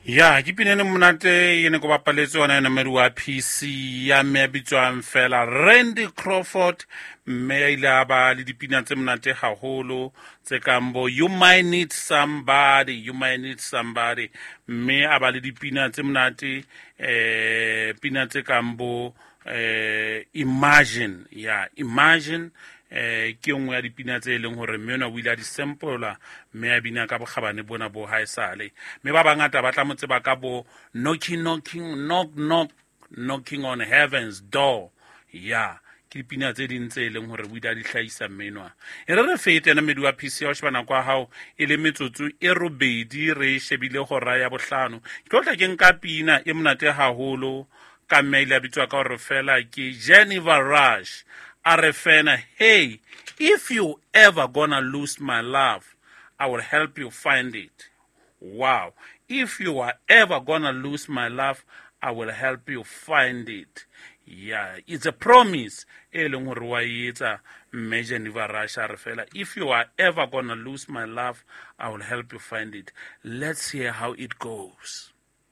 Ya ke pina e monate e ne ko bapaletse yona yona mmedi wa PC ya mme ya bitswang fela Randy Crawford, mme a ile a ba le dipina tse monate haholo tse kang bo You Might Need Somebody, You Might Need Somebody, mme a ba le dipina tse monate pina tse kang bo Imagine, ya Imagine, ke nngwe ya dipina tse e leng hore mme ona o ile a di sampola mme a bina ka bokgabane bona bo haesale. Mme ba bangata ba tla mo tseba ka bo knocking, knocking, knock, knock, knocking on heaven's door. Ya ke dipina tse ding tse e leng hore o ile a di hlahisa mme enwa. E re re fete ena mmedi wa PC ya ho sheba nako ya hao e le metsotso e robedi re shebile hora ya bohlano. Ke tlo tla ke nka pina e monate haholo ka mme a ile a bitswa ka hore fela ke Geneva Rush. A re fena, hey, if you ever gonna lose my love, I will help you find it. Wow. If you are ever gonna lose my love, I will help you find it. Yeah, it's a promise. E leng hore wa e etsa mme Geneva Rush a re fela, if you are ever gonna lose my love, I will help you find it. Let's hear how it goes.